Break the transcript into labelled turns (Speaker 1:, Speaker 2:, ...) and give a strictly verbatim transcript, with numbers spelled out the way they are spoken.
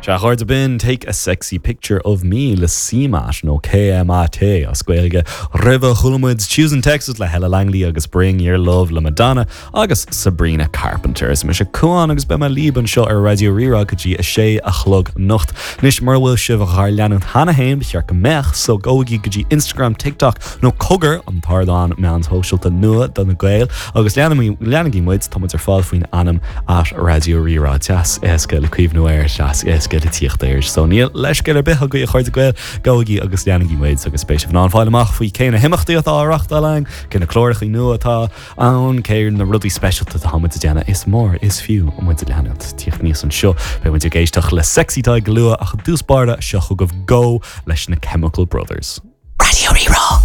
Speaker 1: Sea, a chairde, b'in Take a Sexy Picture of Me le CMAT nó KMAT as Gaeilge roimhe chuala muid Choosing Texas le Hella Langley agus Bring Your Love le Madonna agus Sabrina Carpenter. Is mise Cuan agus beidh mé libh anseo ar Raidió Rí-Rá go dtí a sé a chlog anocht. Anois mura bhfuil sibh ár leanúint cheana féin ba cheart go mbeadh so gabhaigí go dtí Instagram, TikTok nó cogar an t-ardán meán sóisialta nua do na Gaeil agus leanaigí muid tá muid ar fáil faoin ainm at Raidió Rí-Rá deas éasca le cuimhneamh air deas éasca le tíocht air. So níl leithscéal ar bith agaibh a chairde Gael gabhaigí agus leanaigí muid agus beidh sibh in ann fáil amach faoi cé na himeachtaí atá á reáchtáil againn, cé na cláracha nua atá ann, cé na rudaí speisialta atá muid ag déanamh is mór is fiú muid a leanúint tíocht níos anseo Beidh muid ag éisteacht le Sexy Tadhg go luath ach i dtús báire seo chugaibh Go leis na Chemical Brothers.
Speaker 2: Raidió Rí-Rá.